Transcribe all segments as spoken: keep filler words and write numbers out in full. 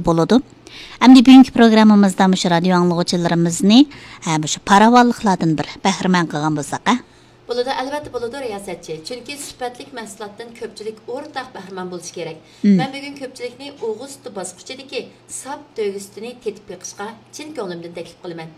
بولىدۇ. ئەمدى بۈگۈنكى پروگراممىمىزدا مۇشۇ رادىيو ئاڭلىغۇچىلىرىمىزنى، ھە، مۇشۇ پاراۋانلىقلاردىن بىر بەھرىمەن قىلغان بولساق، ھە؟ بولىدۇ، ئەلۋەتتە بولىدۇ، رىياسەتچى. چۈنكى سۈپەتلىك مەھسۇلاتتىن كۆپچىلىك ئورتاق بەھرىمەن بولۇشى كېرەك. مەن بۈگۈن كۆپچىلىكنى ئوغۇز سۈتى باسقۇچىدىكى ساپ تۆگە سۈتىنى تېتىپ بېقىشقا چىن كۆڭلۈمدىن تەكلىپ قىلىمەن.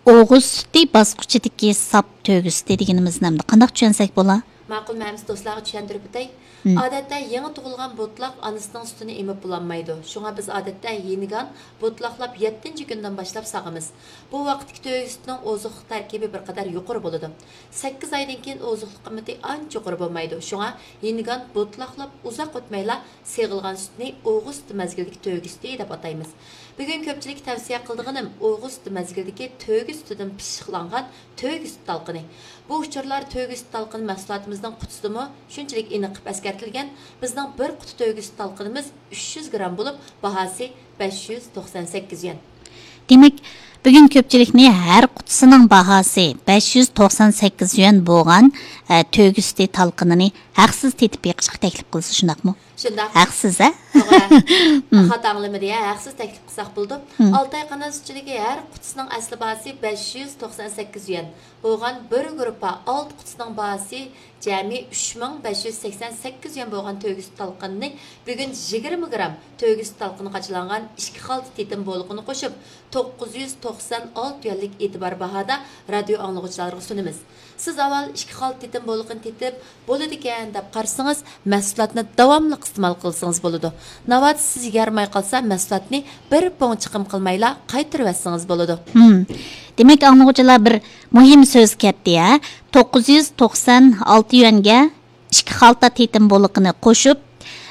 ئوغۇز سۈتى باسقۇچىدىكى ساپ تۆگە سۈتى دېگىنىمىزنى ئەمدى قانداق چۈشەنسەك بولا؟ ماقۇل، مەن ئەمىسە دوستلارغا چۈشەندۈرۈپ ئۆتەي. ئادەتتە يېڭى تۇغۇلغان بوتىلاق ئانىسىنىڭ سۈتىنى ئېمىپ بولالمايدۇ. شۇڭا بىز ئادەتتە يېنىگان بوتىلاقلاپ يەتتىنچى كۈندىن باشلاپ ساغىمىز. بۇ ۋاقىتتىكى تۆگە سۈتىنىڭ ئوزۇقلۇق تەركىبى بىر قەدەر يۇقىرى بولىدۇ. سەككىز ئايدىن كېيىن ئوزۇقلۇق قىممىتى ئانچە يۇقىرى بولمايدۇ. شۇڭا يېنىگان بوتىلاقلاپ ئۇزاق ئۆتمەيلا سېغىلغان سۈتنى ئوغۇز سۈتى مەزگىلىدىكى تۆگە سۈتى دەپ ئاتايمىز. بۈگۈن كۆپچىلىككە تەۋسىيە قىلىدىغىنىم ئوغۇز سۈتى مەزگىلىدىكى تۆگە سۈتىدىن پىششىقلانغان تۆگە سۈت تالقىنى. بۇ ئۇچۇرلار تۆگە سۈت تالقىنى مەھسۇلاتىمىزنىڭ قۇتىسىدىمۇ شۇنچىلىك ئېنىق قىلىپ ئەسكەرتىلگەن. بىزنىڭ بىر قۇتا تۆگە سۈت تالقىنىمىز ئۈچ يۈز گرام بولۇپ، باھاسى بەش يۈز توقسان سەككىز يۈەن. دېمەك، بۈگۈن كۆپچىلىكنى ھەر قۇتىسىنىڭ باھاسى بەش يۈز توقسان سەككىز يۈەن بولغان، ئە، تۆگە سۈتى تالقىنىنى ھەقسىز تېتىپ بېقىشقا تەكلىپ قىلىسىز، شۇنداقمۇ؟ شۇنداق. ھەقسىز، ھە؟ توغرا. خاتا ئاڭلىمىدى، ھە؟ ھەقسىز تەكلىپ قىلساق بولىدۇ. ئالتاي قانال سۈتچىلىكى ھەر قۇتىسىنىڭ ئەسلى باھاسى بەش يۈز توقسان سەككىز يۈەن بولغان بىر گۇرۇپپا ئالتە قۇتىسىنىڭ باھاسى جەمئىي ئۈچ مىڭ بەش يۈز سەكسەن سەككىز يۈەن بولغان تۆگە سۈت تالقىنىنى بۈگۈن يىگىرمە گرام تۆگە سۈت تالقىنى قاچىلانغان ئىككى خالتا تېتىم بولىقىنى قوشۇپ، توققۇز يۈز توقسان ئالتە يۈەنلىك ئېتىبار باھادا رادىيو ئاڭلىغۇچىلارغا سۇنىمىز. سىز ئاۋۋال ئىككى خالتا تېتىم بولىقىنى تېتىپ، بولىدىكەن دەپ قارىسىڭىز، مەھسۇلاتنى داۋاملىق ئىستېمال قىلسىڭىز بولىدۇ. ناۋادا سىز يېگەلمەي قالسا، مەھسۇلاتنى بىر پۇڭ چىقىم قىلمايلا قايتۇرۇۋەتسىڭىز بولىدۇ. ھىم. دېمەك، ئاڭلىغۇچىلار بىر مۇھىم سۆز كەتتى، ھە؟ توققۇز يۈز توقسان ئالتە يۈەنگە ئىككى خالتا تېتىم بولىقىنى قوشۇپ،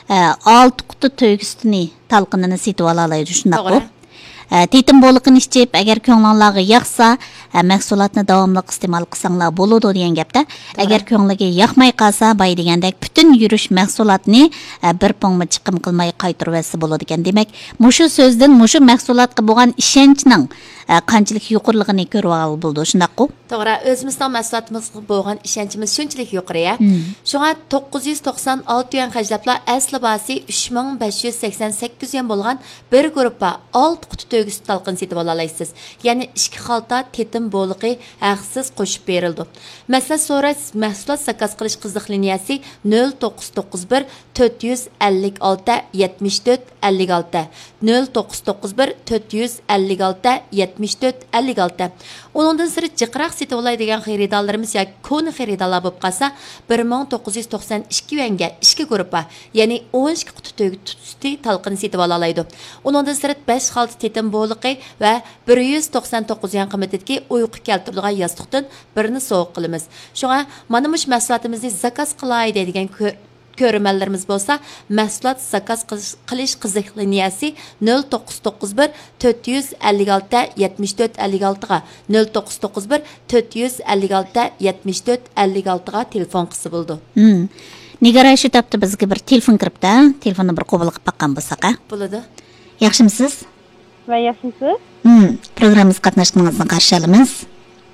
ئە، ئالتە قۇتا تۆگە سۈتىنى تالقىنىنى سېتىۋالالايدۇ، شۇنداققۇ؟ توغرا. ئە، تېتىم بولىقىنى ئىچىپ، ئەگەر كۆڭلۈڭلارغا ياقسا، ئە، مەھسۇلاتنى داۋاملىق ئىستېمال قىلساڭلار بولىدۇ دېگەن گەپتە. توغرا. ئەگەر كۆڭلىگە ياقماي قالسا، بايا دېگەندەك پۈتۈن يۈرۈش مەھسۇلاتنى، ئە، بىر پۇڭمۇ چىقىم قىلماي قايتۇرۇۋەتسە بولىدىكەن. دېمەك، مۇشۇ سۆزدىن مۇشۇ مەھسۇلاتقا بولغان ئىشەنچنىڭ، ئە، قانچىلىك يۇقىرىلىقىنى كۆرۈۋالغىلى بولىدۇ، شۇنداققۇ؟ توغرا، ئۆزىمىزنىڭ مەھسۇلاتىمىزغا بولغان ئىشەنچىمىز شۇنچىلىك يۇقىرى، ھە. شۇڭا توققۇز يۈز توقسان ئالتە يۈەن خەجلەپلا ئەسلى باھاسى ئۈچ مىڭ بەش يۈز سەكسەن سەككىز يۈەن بولغان بىر گۇرۇپپا ئالتە قۇتا تۆگە سۈت تالقىنى سېتىۋالالايسىز. يەنى ئىككى خالتا تېتىم بولىقى ھەقسىز قوشۇپ بېرىلىدۇ. مەسلىھەت سوراش، مەھسۇلات زاكاز قىلىش قىزىق لىنىيەسى نۆل توققۇز توققۇز بىر، تۆت يۈز ئەللىك ئالتە، يەتمىش تۆت، ئەللىك ئالتە، نۆل توققۇز توققۇز بىر، تۆت يۈز ئەللىك ئالتە، يەتمىش تۆت، ئەللىك ئالتە. ئۇنىڭدىن سىرت، جىقراق سېتىۋالاي دېگەن خېرىدارلىرىمىز ياكى كونا خېرىدارلار بولۇپ قالسا، بىر مىڭ توققۇز يۈز توقسان ئىككى يۈەنگە ئىككى گۇرۇپپا، يەنى ئون ئىككى قۇتا تۆگە سۈتى تالقىنى سېتىۋالالايدۇ. ئۇنىڭدىن سىرت، بەش خالتا تېتىم بولىقى ۋە بىر يۈز توقسان توققۇز يۈەن قىممىتىدىكى ئۇيقۇ كەلتۈرىدىغان ياستۇقتىن بىرنى سوۋغا قىلىمىز. شۇڭا مانا مۇشۇ مەھسۇلاتىمىزنى زاكاز قىلاي دەيدىغان كۆ-، كۆرۈرمەنلىرىمىز بولسا، مەھسۇلات زاكاز قىلىش، قىلىش قىزىق لىنىيەسى نۆل توققۇز توققۇز بىر، تۆت يۈز ئەللىك ئالتە، يەتمىش تۆت، ئەللىك ئالتىغا، نۆل توققۇز توققۇز بىر، تۆت يۈز ئەللىك ئالتە، يەتمىش تۆت، ئەللىك ئالتىغا تېلېفون قىلسا بولىدۇ. ھىم. نىگار، شۇ تاپتا بىزگە بىر تېلېفون كىرىپتۇ. تېلېفوننى بىر قوبۇل قىلىپ باققان بولساق، ھە؟ بولىدۇ. ياخشىمۇسىز؟ ۋە ياخشىمۇسىز؟ ھىم، پروگراممىمىزغا قاتناشقىنىڭىزنى قارشى ئالىمىز.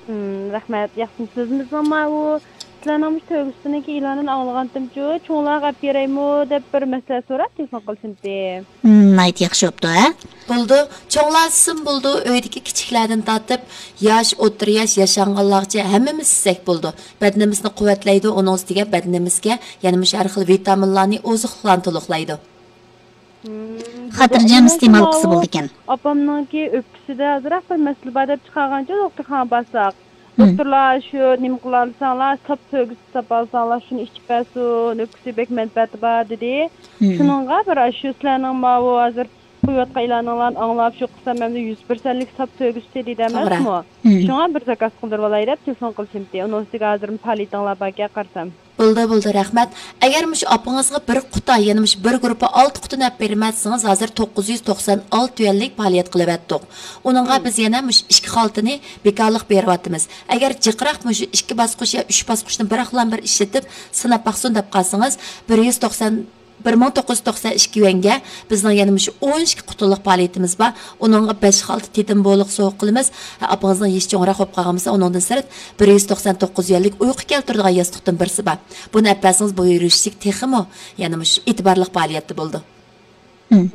ھىم، رەھمەت، ياخشىمۇسىز؟ بىزنىڭ ماۋۇ سىلەرنىڭ مۇشۇ تۆگە سۈتىنىڭكى ئېلانىنى ئاڭلىغانتىمچۇ، چوڭلارغا ئەپ بېرەيمۇ دەپ بىر مەسلىھەت سوراپ تېلېفون قىلسىمتى. ھىم، ناھايىتى ياخشى بوپتۇ، ھە؟ بولىدۇ، چوڭلار دېسىمۇ بولىدۇ، ئۆيدىكى كىچىكلەردىن تارتىپ، ياش، ئوتتۇرا ياش، ياشانغانلارغىچە ھەممىمىز ئىچسەك بولىدۇ. بەدىنىمىزنى قۇۋۋەتلەيدۇ، ئۇنىڭ ئۈستىگە بەدىنىمىزگە يەنە مۇشۇ ھەر خىل ۋىتامىنلارنى، ئوزۇقلۇقلارنى تولۇقلايدۇ. مم، خاتىرجەم ئىستېمال قىلسا بولىدىكەن. ئاپامنىڭكى ئۆپكىسىدە ئازراق بىر مەسىلە بار دەپ چىقارغانچۇ، دوختۇرخانىغا بارساق. مم. دوختۇرلار شۇ نېمە قىلالىساڭلار، ساپ تۆگە سۈت تاپالىساڭلار، شۇنى ئىچىپ بەرسۇن، ئۆپكىسىگە بەك مەنپەئەتى بار، دېدى. مم. شۇنىڭغا بىر ئاشۇ سىلەرنىڭ ماۋۇ ھازىر قويۇۋاتقان ئېلانىڭلارنى ئاڭلاپ، شۇ قىلسام ئەمدى يۈز پىرسەنتلىك ساپ تۆگە سۈتى دېدى توغرا. ئەمەسمۇ؟ مم. شۇڭا بىر زاكاز قىلدۇرۇۋالاي دەپ تېلېفون قىلىشىمتى. ئۇنىڭ ئۈستىگە ھازىر پائالىيىتىڭلار باركەن قارىسام. بولدى، بولدى، رەھمەت. ئەگەر مۇشۇ ئاپىڭىزغا بىر قۇتا، يەنى مۇشۇ بىر گۇرۇپپا ئالتە قۇتىنى ئەپ بېرىمەن دېسىڭىز، ھازىر توققۇز يۈز توقسان ئالتە يۈەنلىك پائالىيەت قىلىۋەتتۇق. ئۇنىڭغا مم. بىز يەنە مۇشۇ ئىككى خالتىنى بىكارلىق بېرىۋاتىمىز. ئەگەر جىقراق مۇشۇ ئىككى باسقۇچ يا ئۈچ باسقۇچنى بىراقلا بىر ئىشلىتىپ سىناپ باقسۇن دەپ قالسىڭىز، بىر يۈز توقسان، بىر مىڭ توققۇز يۈز توقسان ئىككى يۈەنگە بىزنىڭ يەنە مۇشۇ ئون ئىككى قۇتىلىق پائالىيىتىمىز بار. ئۇنىڭغا بەش خالتا تېتىم بولىق سوۋغا قىلىمىز. ئاپىڭىزنىڭ يېشى چوڭراق بولۇپ قالغان بولسا، ئۇنىڭدىن سىرت بىر يۈز توقسان توققۇز يۈەنلىك ئۇيقۇ كەلتۈرىدىغان ياستۇقتىن بىرسى بار. بۇنى ئەپ بەرسىڭىز، بۇ يۈرۈشلۈك تېخىمۇ يەنە مۇشۇ ئېتىبارلىق پائالىيەتتە بولىدۇ. مم.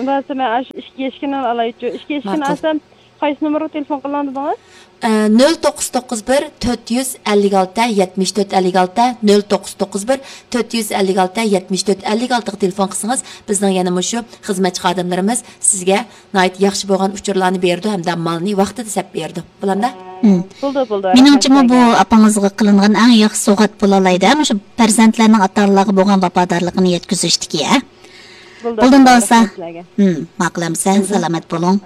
راست، مەن ئاشۇ ئىككى ئىككىنى ئالايچۇ. ئىككى ئىككىنى ماقۇل. ئالسام، قايسى نومۇرغا تېلېفون قىلىڭ دېدىڭىز؟ ئە، نۆل توققۇز توققۇز بىر، تۆت يۈز ئەللىك ئالتە، يەتمىش تۆت ئەللىك ئالتە، نۆل توققۇز توققۇز بىر، تۆت يۈز ئەللىك ئالتە، يەتمىش تۆت ئەللىك ئالتىغا تېلېفون قىلسىڭىز، بىزنىڭ يەنە مۇشۇ خىزمەتچى خادىملىرىمىز سىزگە ناھايىتى ياخشى بولغان ئۇچۇرلارنى بېرىدۇ ھەمدە مالنى ۋاقتىدا سەپ بېرىدۇ. بولامدا؟ مم. بولدى، بولدى. مېنىڭچىمۇ رەھمەت بۇ سىلەرگە. ئاپىڭىزغا قىلىنغان ئەڭ ياخشى سوۋغات بولالايدۇ، ھە؟ مۇشۇ پەرزەنتلەرنىڭ ئاتا-ئانىلارغا بولغان ۋاپادارلىقىنى يەتكۈزۈشتىكى، ھە؟ بولدى، بولدى، بولدى، بولسا. رەھمەت سىلەرگە. مم، ماقۇل ئەمىسە، مم. سالامەت بولۇڭ.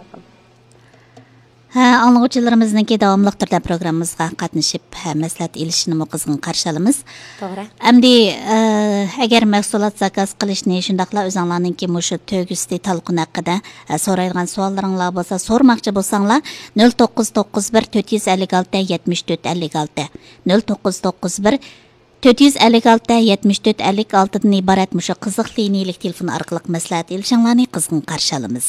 ھە، ئاڭلىغۇچىلىرىمىزنىڭكى داۋاملىق تۈردە پروگراممىمىزغا قاتنىشىپ، ھە، مەسلىھەت ئېلىشىنىمۇ قىزغىن قارشى ئالىمىز. توغرا. ئەمدى، ئە، ئەگەر مەھسۇلات زاكاز قىلىشنى، شۇنداقلا ئۆزۈڭلارنىڭكى مۇشۇ تۆگە سۈتى تالقىنى ھەققىدە، ئە، سورايدىغان سوئاللىرىڭلار بولسا، سورىماقچى بولساڭلار، نۆل توققۇز توققۇز بىر، تۆت يۈز ئەللىك ئالتە، يەتمىش تۆت ئەللىك ئالتە، نۆل توققۇز توققۇز بىر، تۆت يۈز ئەللىك ئالتە، يەتمىش تۆت ئەللىك ئالتىدىن ئىبارەت مۇشۇ قىزىق لىنىيىلىك تېلېفون ئارقىلىق مەسلىھەت ئېلىشىڭلارنى قىزغىن قارشى ئالىمىز.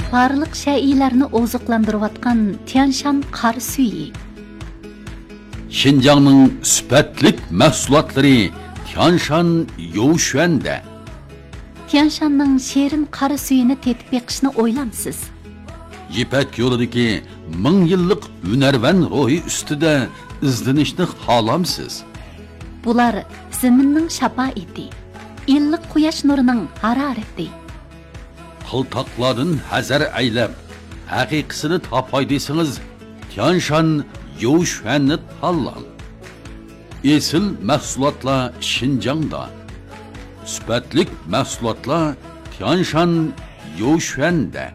بارلىق شەيئىلەرنى ئوزۇقلاندۇرۇۋاتقان تيانشان قارا سۈيى. شىنجاڭنىڭ سۈپەتلىك مەھسۇلاتلىرى تيانشان يوۋشۈەندە. تيانشاننىڭ شېرىن قارا سۈيىنى تېتىپ بېقىشنى ئويلامسىز؟ يىپەك يولىدىكى مىڭ يىللىق ھۈنەرۋەن روھى ئۈستىدە ئىزدىنىشنى خالامسىز؟ بۇلار زېمىننىڭ شاپائىتى، ئىللىق قۇياش نۇرىنىڭ ھارارىتى. قىلتاقلاردىن ھەزەر ئەيلەپ، ھەقىقىسىنى تاپاي دېسىڭىز، تيانشان يوۋشۈەننى تاللاڭ. ئېسىل مەھسۇلاتلار شىنجاڭدا. سۈپەتلىك مەھسۇلاتلار تيانشان يوۋشۈەندە.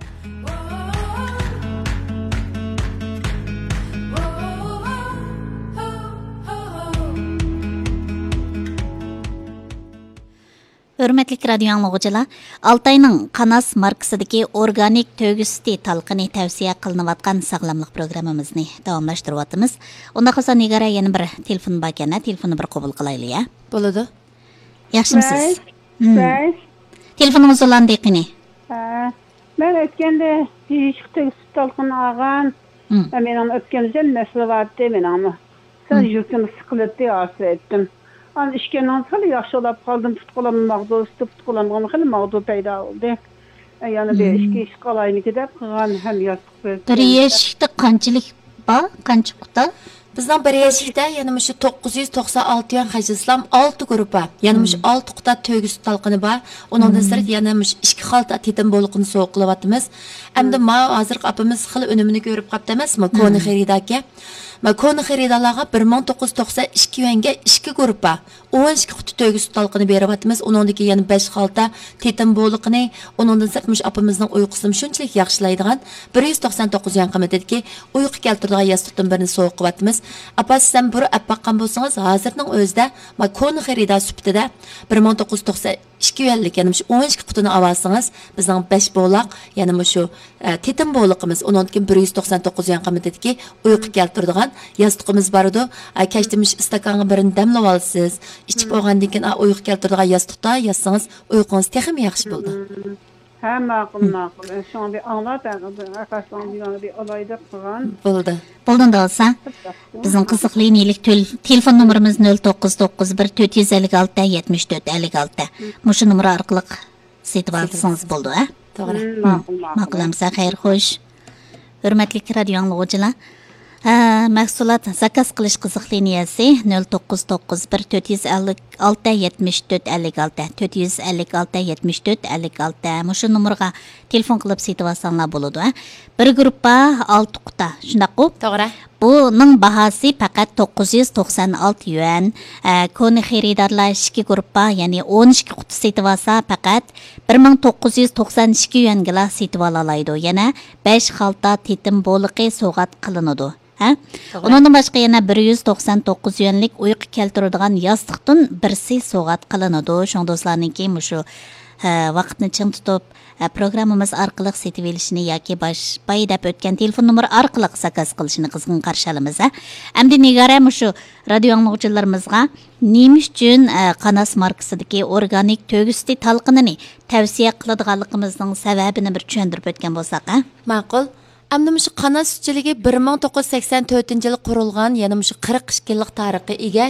ھۆرمەتلىك رادىيو ئاڭلىغۇچىلار، ئالتاينىڭ قاناس ماركىسىدىكى ئورگانىك تۆگە سۈتى تالقىنى تەۋسىيە قىلىنىۋاتقان ساغلاملىق پروگراممىمىزنى داۋاملاشتۇرۇۋاتىمىز. ئۇنداق بولسا، نىگارە، يەنە بىر تېلېفون باركەن، ھە؟ تېلېفوننى بىر قوبۇل قىلايلى، ھە؟ بولىدۇ. ياخشىمۇسىز؟ ۋەي، ھىم. ۋەي. تېلېفونىڭىز ئۇلاندى قېنى. ھە، مەن ئۆتكەندە بېشىغا تۆگە سۈتى تالقىنى ئالغان. ھىم. ھە، مېنىڭ ئۆپكەمدە مەسىلە بارتى مېنىڭمۇ. سەل ھىم. يۈرىكىم سىقىلدى، ھازىر ئېيتتىم. ئاندىن ئىچكەندىن خېلى ياخشى بولاپ قالدىم. پۇت-قولۇم ماغدۇرلىشىپ، پۇت-قولۇمغا خېلى ماغدۇر پەيدا بولدى. ھە، يەنە بىر ھىم. ئىككى ئىش قىلايمىكى دەپ قىلغان ھەم ياستۇق بېرىپ بىر يەشىكتە قانچىلىك بار؟ قانچە قۇتا؟ بىزنىڭ بىر يەشىكتە يەنە مۇشۇ توققۇز يۈز توقسان ئالتە يۈەن خەجلىسىلام ئالتە گۇرۇپپا، يەنە مۇشۇ ھىم. ئالتە قۇتا تۆگە سۈتى تالقىنى بار. ئۇنىڭدىن ھىم. سىرت يەنە مۇشۇ ئىككى خالتا تېتىم بولىقىنى سوۋغا قىلىۋاتىمىز. ئەمدى ھىم. ماۋۇ ھازىرقى ئاپىمىز خېلى ئۈنۈمىنى كۆرۈپ قاپتۇ ئەمەسمۇ؟ كونا ھىم. خېرىداركەن. مانا كونا خېرىدارلارغا بىر مىڭ توققۇز يۈز توقسان ئىككى يۈەنگە ئىككى گۇرۇپپا، ئون ئىككى قۇتا تۆگە سۈتى تالقىنى بېرىۋاتىمىز. ئۇنىڭدىكى يەنە بەش خالتا تېتىم بولىقىنى، ئۇنىڭدىن سىرت مۇشۇ ئاپىمىزنىڭ ئۇيقۇسىنى شۇنچىلىك ياخشىلايدىغان بىر يۈز توقسان توققۇز يۈەن قىممىتىدىكى ئۇيقۇ كەلتۈرىدىغان ياستۇقتىن بىرنى سوۋغا قىلىۋاتىمىز. ئاپا، سىز ھەم بۇرۇن ئەپ باققان بولسىڭىز، ھازىرنىڭ ئۆزىدە مانا كونا خېرىدار سۈپىتىدە بىر مىڭ توققۇز يۈز توقسان ئىككى يۈەنلىك، يەنى مۇشۇ ئون ئىككى قۇتىنى ئاۋالسىڭىز، بىزنىڭ بەش بولاق، يەنى مۇشۇ، ئە، تېتىم بولىقىمىز، ئۇنىڭدىن كېيىن بىر يۈز توقسان توققۇز يۈەن قىممىتىدىكى ئۇيقۇ كەلتۈرىدىغان ياستۇقىمىز بارىدۇ. ئە، كەچتە مۇشۇ ئىستاكانغا بىرنى دەملىۋالىسىز. ئىچىپ بولغاندىن كېيىن، ئا، ئۇيقۇ كەلتۈرىدىغان ياستۇقتا ياتسىڭىز، ئۇيقۇڭىز تېخىمۇ ياخشى بولىدۇ. ھە، ماقۇل، ماقۇل. شۇڭا بىر ئاڭلاپ، ھە، ئەقەسنىڭ دېگەنگە بىر ئالاي دەپ قىلغان. بولدى. بولدى، ئۇنداق بولسا. بىزنىڭ قىزىق لىنىيەلىك تۆل-، تېلېفون نومۇرىمىز نۆل توققۇز توققۇز بىر، تۆت يۈز ئەللىك ئالتە، يەتمىش تۆت، ئەللىك ئالتە. مۇشۇ نومۇر ئارقىلىق سېتىۋالسىڭىز بولىدۇ، ھە؟ توغرا. مم، ماقۇل، ماقۇل. ماقۇل ئەمىسە، خەير خوش. ھۆرمەتلىك رادىيو ئاڭلىغۇچىلار، ھە، مەھسۇلات زاكاز قىلىش قىزىق لىنىيەسى نۆل توققۇز توققۇز بىر، تۆت يۈز ئەللىك ئالتە، يەتمىش تۆت، ئەللىك ئالتە، تۆت يۈز ئەللىك ئالتە، يەتمىش تۆت، ئەللىك ئالتە. مۇشۇ نومۇرغا تېلېفون قىلىپ سېتىۋالساڭلار بولىدۇ، ھە. بىر گۇرۇپپا ئالتە قۇتا، شۇنداققۇ؟ توغرا. بۇنىڭ باھاسى پەقەت توققۇز يۈز توقسان ئالتە يۈەن. ئە، كونا خېرىدارلار ئىككى گۇرۇپپا، يەنى ئون ئىككى قۇتا سېتىۋالسا، پەقەت بىر مىڭ توققۇز يۈز توقسان ئىككى يۈەنگىلا سېتىۋالالايدۇ. يەنە بەش خالتا تېتىم بولىقى سوۋغات قىلىنىدۇ. ھە؟ توغرا. ئۇنىڭدىن باشقا يەنە بىر يۈز توقسان توققۇز يۈەنلىك ئۇيقۇ كەلتۈرىدىغان ياستۇقتىن بىرسى سوۋغات قىلىنىدۇ. شۇڭا دوستلارنىڭكى مۇشۇ، ھە، ۋاقىتنى چىڭ تۇتۇپ، ھە، پروگراممىمىز ئارقىلىق سېتىۋېلىشىنى ياكى باش-، بايا دەپ ئۆتكەن تېلېفون نومۇرى ئارقىلىق زاكاز قىلىشىنى قىزغىن قارشى ئالىمىز، ھە. ئەمدى نىگارە مۇشۇ رادىيو ئاڭلىغۇچىلىرىمىزغا نېمە ئۈچۈن، ئە، قاناس ماركىسىدىكى ئورگانىك تۆگە سۈتى تالقىنىنى تەۋسىيە قىلىدىغانلىقىمىزنىڭ سەۋەبىنى بىر چۈشەندۈرۈپ ئۆتكەن بولساق، ھە؟ ماقۇل. ئەمدى مۇشۇ قاناس سۈتچىلىكى بىر مىڭ توققۇز يۈز سەكسەن تۆتىنچى يىلى قۇرۇلغان، يەنە مۇشۇ قىرىق ئىككى يىللىق تارىخقا ئىگە